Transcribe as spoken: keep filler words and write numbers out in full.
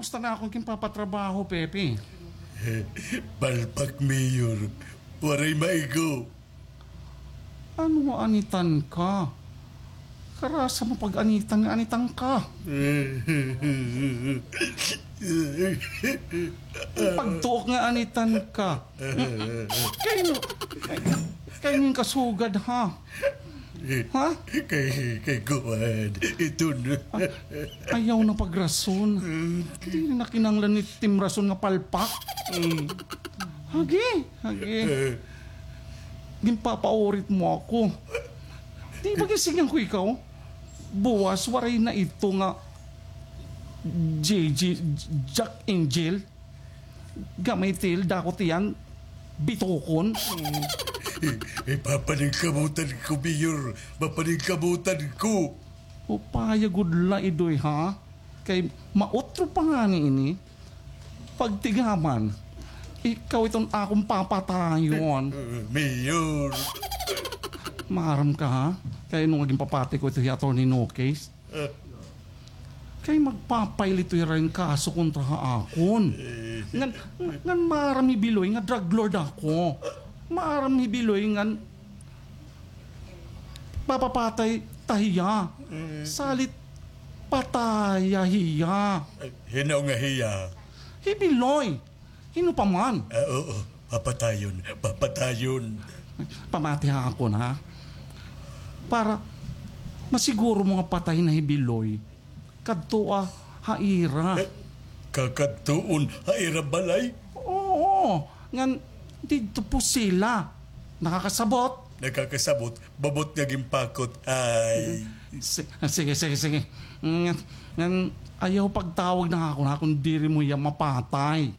Gusto na ako ginpapatrabaho, Pepe. Palpak, Mayor. Waray maigo. Ano nga anitan ka? Karasa mo pag-anitan nga anitan ka. Pagtuok nga anitan ka. Kay, kay, kay ning kasugad, ha? Ha? Kay, kay kuan, iton. Ah, ayaw na pagrason. Diri na kinahanglan ni Tim Rason nga palpak. Hagi, hagi. Ginpapaurit mo ako. Di ba ginsigihan ko ikaw? Buwas, waray na ito nga J J, Jack Angel. Gamay til, dako tiyan, bitokon. Eh, eh, papaningkamutan ko, Mayor. Papaningkamutan ko. Upaya gud la, Idoy, ha? Kay mautro pa ngani ini. Pagtigaman, ikaw iton akon papatayon. Eh, Mayor. Maaram ka, ha? Kay ano nga ginpapati ko ito hi Attorney Nokes. Kay magpa-file ito hira hin kaso kontra ha akon. Ngan, ngan maaram hi Biloy nga drug lord ako. Maaram hi Biloy ngan papapatay ta hiya. Salit pataya hiya. Hin-o nga hiya? Hi Biloy. Hin-o pa man? Ah, oo. Papatayon. Papatayon. Pamati ha akon, ha? Para masiguro mo nga patay na hi Biloy, kadtoa ha ira. Eh, kakadtuon ha ira balay? Oo. Ngan didto pusila. Nakakasabot? Nakakasabot. Babot nga ginpakot. Ay. Si-, ah, sige, sige, sige. Ngan, ngan ayaw pagtawag na akon, ha, kon diri mo hiya mapatay.